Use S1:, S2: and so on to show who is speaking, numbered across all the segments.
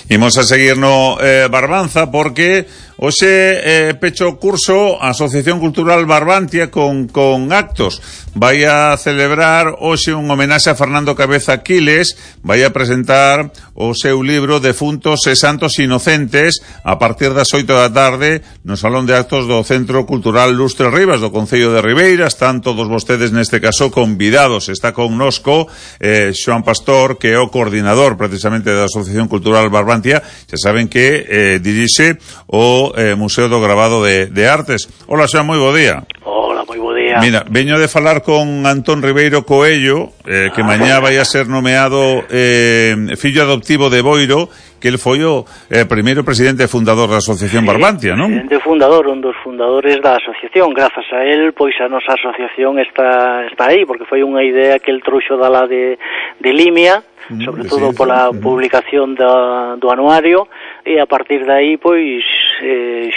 S1: Imos a seguir no Barbanza porque hoxe pecho curso a Asociación Cultural Barbantia con actos. Vai a celebrar hoxe un homenaxe a Fernando Cabeza Quiles, vai a presentar o seu libro Defuntos e Santos Inocentes a partir das 8 da tarde no Salón de Actos do Centro Cultural Lustre Rivas do Concello de Ribeira. Están todos vostedes neste caso convidados. Está connosco Xoán Pastor, que é o coordinador precisamente da Asociación Cultural Barbantia. Xa saben que dirixe o Museo do Gravado de Artes. Hola, Xoán, moi bo día.
S2: Hola, moi bo día.
S1: Mira, veño de falar con Antón Ribeiro Coello, que mañá vai a ser nomeado fillo adoptivo de Boiro, que el foi o primeiro presidente fundador da Asociación Barbantia, non?
S2: Presidente fundador, un dos fundadores da asociación. Grazas a él, pois a nosa asociación está aí, porque foi unha idea que el trouxo da la de Limia, sobre todo pola publicación do anuario, e a partir de aí, pois,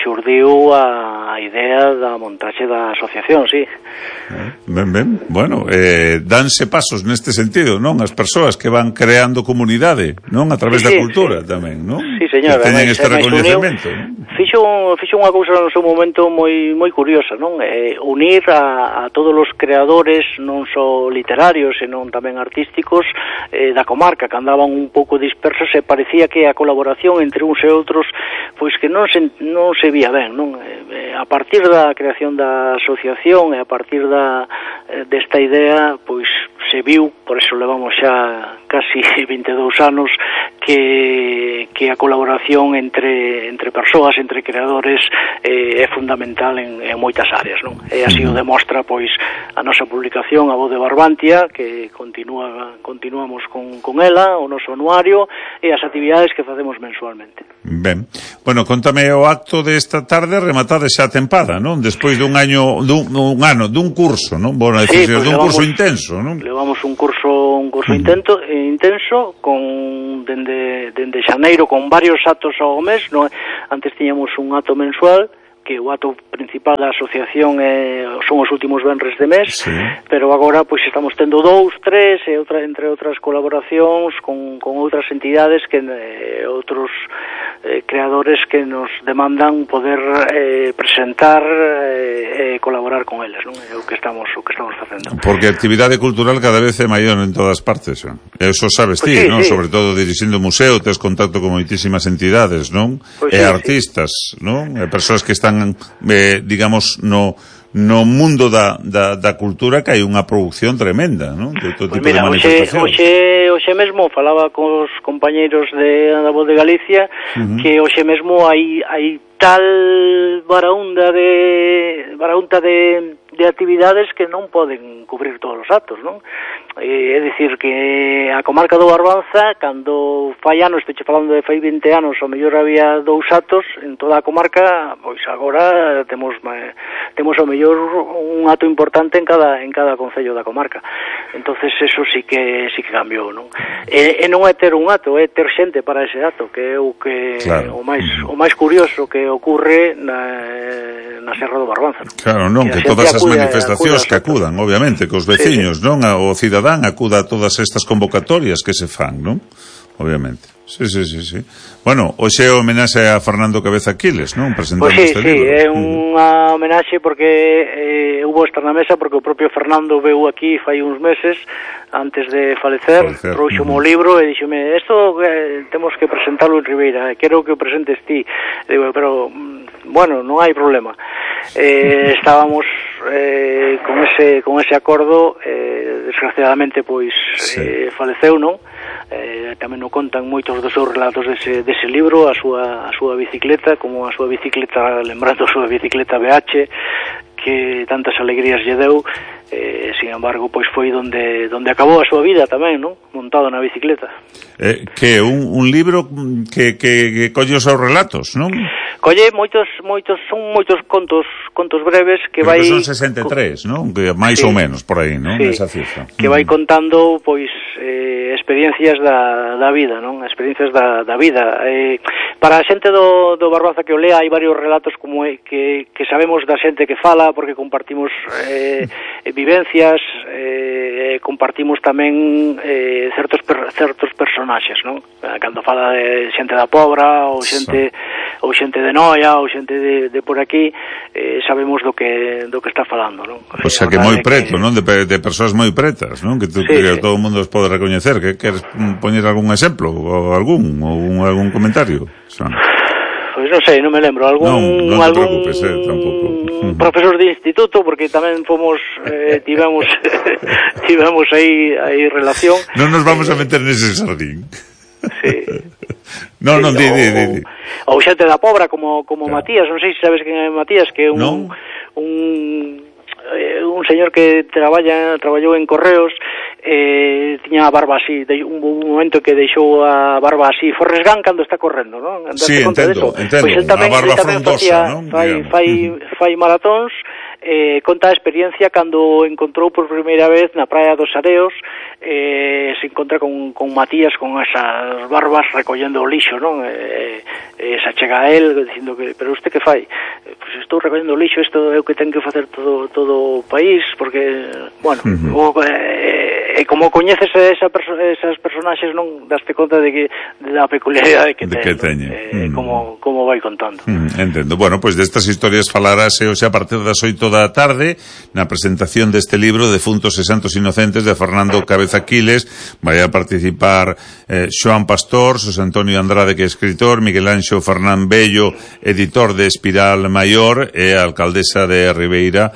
S2: xurdiu a idea da montaxe da asociación, sí.
S1: Ben, bueno, danse pasos neste sentido, non? As persoas que van creando comunidade, non? A través da cultura tamén, non?
S2: Sí, señor.
S1: Que teñen este recoñecemento.
S2: Fixo unha cousa no seu momento moi curiosa, non? Unir a todos os creadores, non só literarios, senón tamén artísticos, da comarca, que andaban un pouco dispersos, e parecía que a colaboración entre uns e outros, pois que non se vía ben, non? A partir da creación da asociación e a partir desta idea, pois se viu, por eso levamos xa casi 22 anos, que a colaboración entre persoas, entre creadores, é fundamental en moitas áreas, non? E así o demostra, pois, a nosa publicación, A Voz de Barbantia, que continuamos con ela, o noso anuario, e as actividades que facemos mensualmente.
S1: Ben, bueno, contame o acto desta tarde, rematade xa a tempada, non? Despois dun dun curso, non? Bueno,
S2: sí, pues
S1: dun curso intenso, non?
S2: Levamos un curso intenso con dende xaneiro, con varios actos ao mes, non? Antes tiñamos un acto mensual, que o acto principal da asociación son os últimos venres de mes, sí. Pero agora pois estamos tendo 2, 3 e entre outras colaboracións con outras entidades que outros creadores que nos demandan poder presentar e colaborar con eles, non? É o que estamos facendo.
S1: Porque a actividade cultural cada vez é maior en todas partes, non? Eso sabes ti, non? Sí. Sobre todo dirixindo o museo, tes contacto con moitísimas entidades, non? Pues e artistas, non? E persoas que están digamos no mundo da cultura, que hai unha produción tremenda, non? De todo tipo de manifestacións.
S2: Hoxe mesmo falaba cos compañeiros da Voz de Galicia, que hoxe mesmo hai tal baraúnda de actividades que non poden cubrir todos os actos, non? É dicir que a comarca do Barbanza, cando fai anos, estou falando de fai 20 anos, ao mellor había 2 actos en toda a comarca, pois agora temos ao mellor un acto importante en cada concello da comarca. Entonces eso sí que cambiou, non? E non é ter un acto, é ter xente para ese acto, que é o que claro. o máis curioso que ocorre na Serra do Barbanza, non?
S1: Claro, non, que todas as manifestacións que acudan, obviamente, que os veciños, sí. Non? O cidadán acuda a todas estas convocatorias que se fan, non? Obviamente. Sí. Bueno, hoxe é homenaxe a Fernando Cabeza Quiles, non? Presentando este libro.
S2: Sí, é unha homenaxe porque hubo estar na mesa, porque o propio Fernando veu aquí fai uns meses, antes de falecer, trouxome o libro e dixome, isto temos que presentalo en Ribeira, quero que o presentes ti. Digo, pero, bueno, non hai problema. Estábamos con ese acordo, desgraciadamente, pois, faleceu, non? Tamén o contan moitos dos seus relatos dese libro, a súa bicicleta, como a súa bicicleta, lembrando a súa bicicleta BH, que tantas alegrías lle deu, sin embargo, pois foi donde acabou a súa vida tamén, non? Montado na bicicleta.
S1: Que un libro que colle os seus relatos, non?
S2: Colle moitos contos breves que vai...
S1: Son 63, non? Máis ou menos, por aí, non? Esa cifra.
S2: Que vai contando, pois, experiencias da vida, non? Experiencias da vida. Para a xente do Barbanza que o lea, hai varios relatos como que sabemos da xente que fala, porque compartimos vivencias, compartimos tamén certos personaxes, non? Cando fala de xente da Pobra ou xente de Noia ou xente de por aquí, sabemos do que está falando, non?
S1: O sea, que moi preto, non? De persoas moi pretas, non? Que todo o mundo os pode recoñecer. Que queres poñer algún exemplo ou algún comentario?
S2: Pois non sei, non me lembro.
S1: Non te preocupes, tampouco.
S2: Profesor de instituto, porque tamén tivemos aí relación.
S1: Non nos vamos a meter nese sardín.
S2: Sí.
S1: Non, di.
S2: Ou xente da Pobra como Matías, non sei se sabes quen é Matías, que é un señor que traballou en Correos, tiña a barba así, un momento que deixou a barba así, Forrest Gump cando está correndo, non?
S1: Sí, entendo.
S2: Pois el tamén
S1: frondosa, non?
S2: Fai maratóns, conta a experiencia cando encontrou por primeira vez na praia dos Areos, se encontra con Matías con esas barbas recollendo o lixo, non? Se achega a él dicindo que, pero usted que fai? Pois estou recollendo o lixo, isto é o que ten que facer todo o país, porque, bueno, como coñeces esas personaxes, non daste conta de que da peculiaridade que teñen, como vai contando.
S1: Entendo. Bueno, pois destas historias falarase hoxe a partir das 8 da tarde na presentación deste libro Defuntos e Santos Inocentes de Fernando Cabeza Quiles. Vai a participar Xoán Pastor, Xosé Antonio Andrade, que é escritor, Miguel Anxo Fernán Bello, editor de Espiral Maior, e a alcaldesa de Ribeira,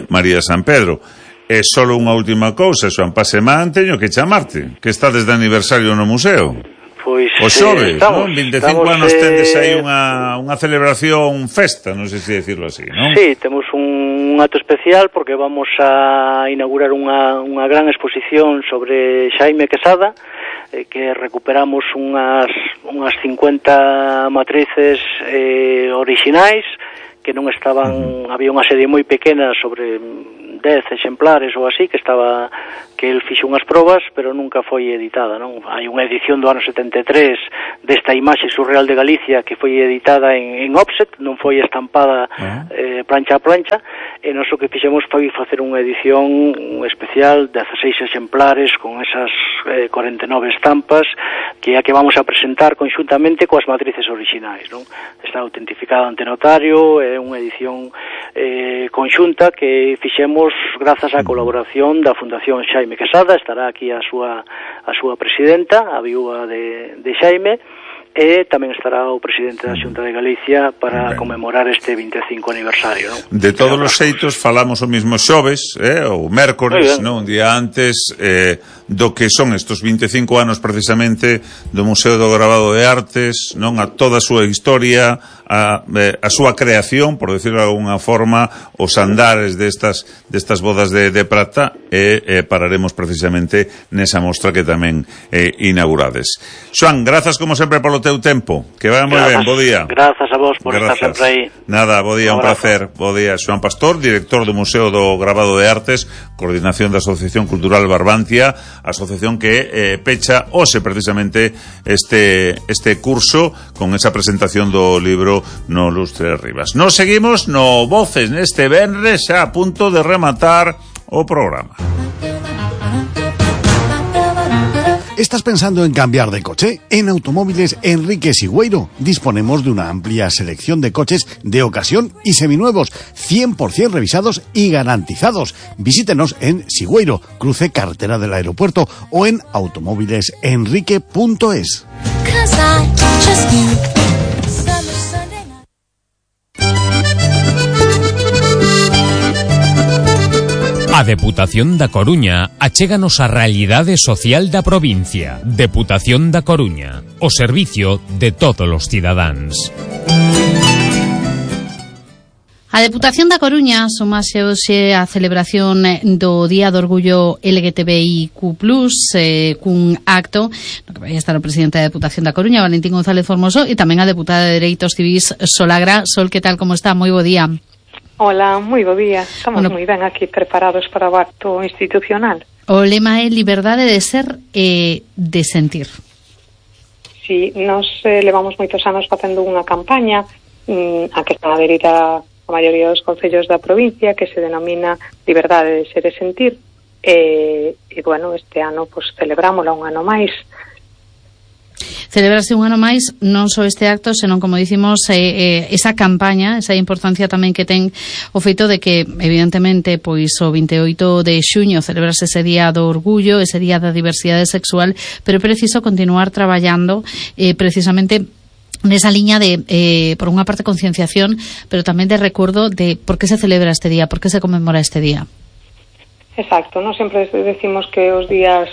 S1: María San Pedro. E só unha última cousa, Xoán Pasemán, teño que chamarte, que está desde aniversario no museo.
S2: Pois
S1: o xoves, non? 25 anos tendes aí unha celebración festa, non sei se decirlo así, non?
S2: Sí, temos un acto especial porque vamos a inaugurar unha gran exposición sobre Xaime Quesada, que recuperamos unhas 50 matrices orixinais que non estaban, había unha serie moi pequena sobre 10 exemplares ou así que el fixo unhas probas, pero nunca foi editada, non? Hai unha edición do ano 73 desta imaxe surreal de Galicia que foi editada en offset, non foi estampada plancha a plancha, e nós o que fixemos foi facer unha edición especial de 16 exemplares con esas 49 estampas que é a que vamos a presentar conxuntamente coas matrices orixinais, non? Está autentificada ante notario, é unha edición conxunta que fixemos grazas á colaboración da Fundación Xaime Quesada. Estará aquí a súa presidenta, a viúva de Xaime, e tamén estará o presidente da Xunta de Galicia para conmemorar este 25 aniversario, non?
S1: De todos os xeitos falamos o mismo xoves, ou mércores, non? Un día antes do que son estos 25 anos precisamente do Museo do Gravado de Artes, non? A toda a súa historia, a súa creación, por decirlo de alguna forma, os andares destas bodas de prata, e pararemos precisamente nesa mostra que tamén inaugurades. Xoán, grazas como sempre polo teu tempo, que vai moi ben, bo día.
S2: Grazas a vos por estar sempre aí.
S1: Nada, bo día, un placer. Bo día, Xoán Pastor, director do Museo do Gravado de Artes, coordinación da Asociación Cultural Barbantia, asociación que pecha hoxe precisamente este curso con esa presentación do libro No Lustre Rivas. Nos seguimos no Voces neste venres, xa a punto de rematar o programa.
S3: ¿Estás pensando en cambiar de coche? En Automóviles Enrique Sigüeiro disponemos de una amplia selección de coches de ocasión y seminuevos, 100% revisados y garantizados. Visítenos en Sigüeiro, cruce carretera del aeropuerto, o en automóvilesenrique.es.
S4: A Deputación da Coruña achéganos a realidade social da provincia. Deputación da Coruña, o servicio de todos os cidadáns.
S5: A Deputación da Coruña sumase hoxe a celebración do Día do Orgullo LGTBIQ+, cun acto no que vai estar o presidente da Deputación da Coruña, Valentín González Formoso, e tamén a deputada de Dereitos Civís, Sol Agra. Sol, que tal, como está? Moi bo día.
S6: Hola, moi bo día. Estamos moi ben aquí preparados para o acto institucional.
S5: O lema é liberdade de ser e de sentir.
S6: Sí, nos levamos moitos anos facendo unha campaña a que están adherida a maioría dos concellos da provincia, que se denomina Liberdade de Ser e Sentir, e bueno, este ano pues, celebrámola un ano máis.
S5: Celebrarse un ano máis, non só este acto, senón, como dicimos, esa campaña, esa importancia tamén que ten o feito de que, evidentemente, pois o 28 de xuño celebrarse ese Día do Orgullo, ese Día da Diversidade Sexual, pero é preciso continuar traballando precisamente nesa liña de, por unha parte, concienciación, pero tamén de recuerdo de por que se celebra este día, por que se conmemora este día.
S6: Exacto, non sempre decimos que os días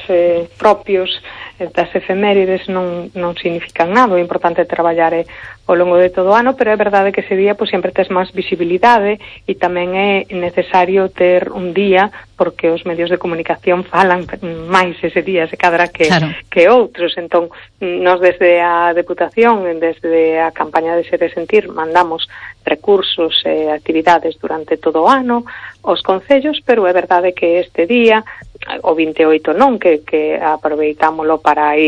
S6: propios das efemérides non significan nada, o importante é traballar ao longo de todo o ano, pero é verdade que ese día pues, sempre tes máis visibilidade e tamén é necesario ter un día porque os medios de comunicación falan máis ese día, se cadra que outros. Entón, nos desde a Deputación, desde a campaña de Ser e Sentir, mandamos recursos e actividades durante todo o ano aos concellos, pero é verdade que este día, o 28 non, que aproveitámolo para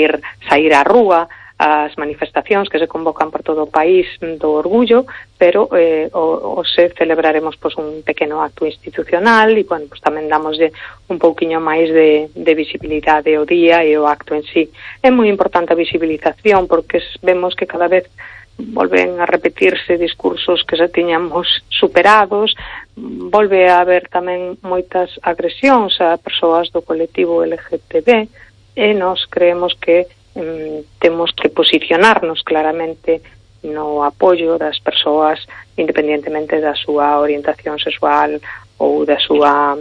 S6: sair á rúa, as manifestacións que se convocan por todo o país do orgullo, pero hoxe celebraremos pues, un pequeno acto institucional e, bueno, pues, tamén damoslle un pouquiño máis de visibilidade ao día e o acto en sí. É moi importante a visibilización porque vemos que cada vez volven a repetirse discursos que xa tiñamos superados, volve a haber tamén moitas agresións a persoas do colectivo LGTB e nós creemos que temos que posicionarnos claramente no apoio das persoas independentemente da súa orientación sexual ou da súa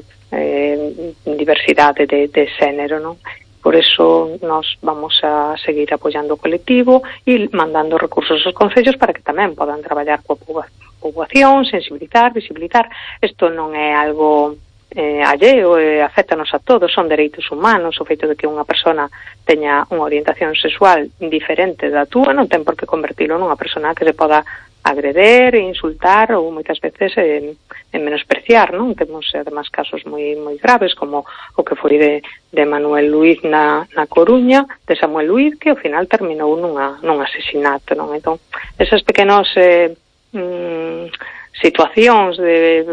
S6: diversidade de xénero, non? Por eso nos vamos a seguir apoiando o colectivo e mandando recursos aos concellos para que tamén podan traballar coa poboación, sensibilizar, visibilizar. Isto non é algo alleo, aféctanos a todos, son dereitos humanos. O feito de que unha persona teña unha orientación sexual diferente da túa non ten por que convertilo nunha persona que se poda agreder, insultar ou moitas veces en menospreciar, non? Temos además casos moi graves como o que foi de Manuel Luiz na Coruña, de Samuel Luiz, que ao final terminou nun asesinato, non? Entón, esas pequenos situacións de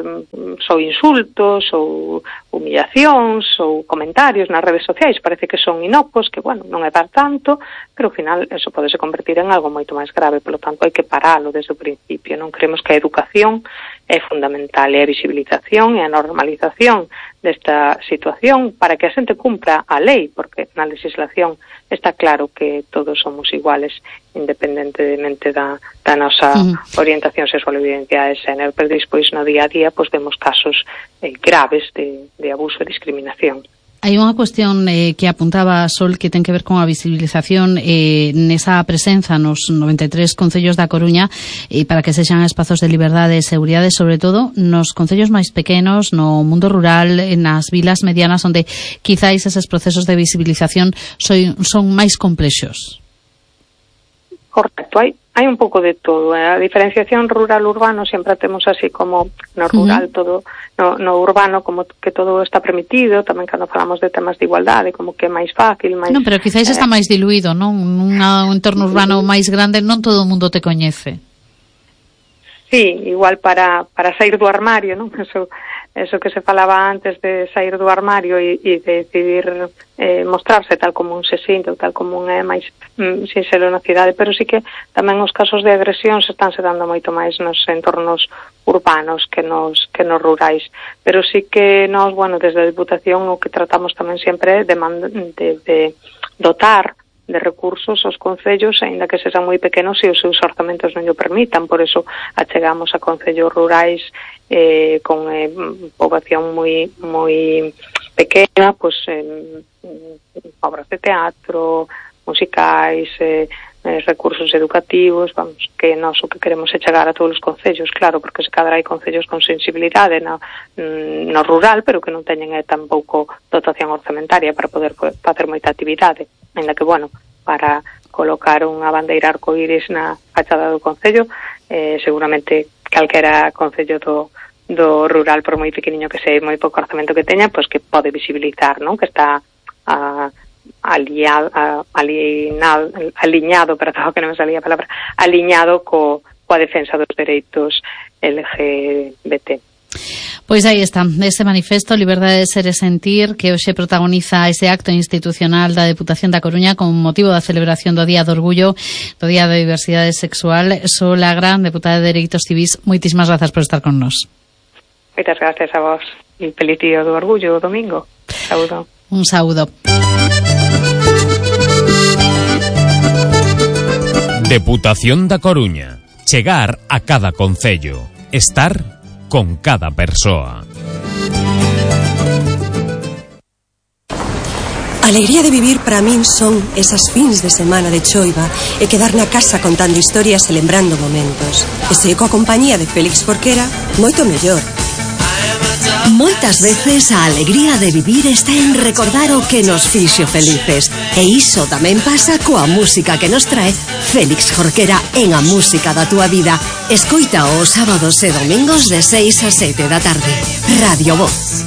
S6: só insultos ou humillacións ou comentarios nas redes sociais parece que son inocuos, que, bueno, non é dar tanto, pero ao final eso podese convertir en algo moito máis grave, polo tanto hai que paralo desde o principio. Non creemos que a educación é fundamental e a visibilización e a normalización desta situación para que a xente cumpra a lei, porque na legislación está claro que todos somos iguales independentemente da nosa orientación sexual e identidade de xénero, pero despois no día a día pues, vemos casos graves de abuso e discriminación.
S5: Hai unha cuestión que apuntaba Sol que ten que ver con a visibilización nesa presenza nos 93 concellos da Coruña para que sexan espazos de liberdade e seguridade, sobre todo nos concellos máis pequenos, no mundo rural, nas vilas medianas, onde quizáis eses procesos de visibilización son máis complexos.
S6: Correcto, hai un pouco de todo. A diferenciación rural-urbano sempre temos así como no rural todo, no urbano como que todo está permitido, tamén cando falamos de temas de igualdade, como que é máis fácil, máis...
S5: Non, pero quizáis está máis diluído, non? Nun entorno urbano máis grande non todo o mundo te coñece.
S6: Sí, igual para sair do armario, non? Eso que se falaba antes de sair do armario e decidir mostrarse tal como un se sinte ou tal como un é máis sinxelo na cidade, pero sí que tamén os casos de agresión se están dando moito máis nos entornos urbanos que nos rurais, pero sí que nós, bueno, desde a Deputación o que tratamos tamén sempre é de dotar de recursos aos concellos, aínda que sexan moi pequenos e os seus orzamentos non o permitan. Por eso achegamos a concellos rurais con poboación moi pequena, pues, obras de teatro, musicais, recursos educativos, vamos, que nós o que queremos é chegar a todos os concellos, claro, porque se cadra hai concellos con sensibilidade no rural, pero que non teñen tampouco dotación orzamentaria para poder facer moita actividade, ainda que, bueno, para colocar unha bandeira arcoíris na fachada do concello, seguramente calquera concello do rural, por moi pequeniño que sei, moi pouco orzamento que teña, pois que pode visibilizar, non? Que está aliñado, perdón, que non me salía a palabra, aliñado coa defensa dos dereitos LGBT.
S5: Pois aí está, ese manifesto Liberdade de Ser e Sentir, que hoxe protagoniza ese acto institucional da Deputación da Coruña con motivo da celebración do Día do Orgullo, do Día da Diversidade Sexual. Sol Agra, deputada de Dereitos Civís, moitísimas grazas por estar con nós.
S6: Moitas gracias a vos e feliz Día do Orgullo o domingo. Saúdo.
S5: Un saúdo.
S4: Deputación da Coruña. Chegar a cada concello. Estar con cada persoa.
S7: A alegría de vivir para min son esas fins de semana de choiva e quedar na casa contando historias e lembrando momentos. E se coa compañía de Félix Jorquera, moito mellor.
S8: Moitas veces a alegría de vivir está en recordar o que nos fixo felices. E iso tamén pasa coa música que nos trae Félix Jorquera en A Música da Túa Vida. Escoita os sábados e domingos de 6 a 7 da tarde. Radio Voz.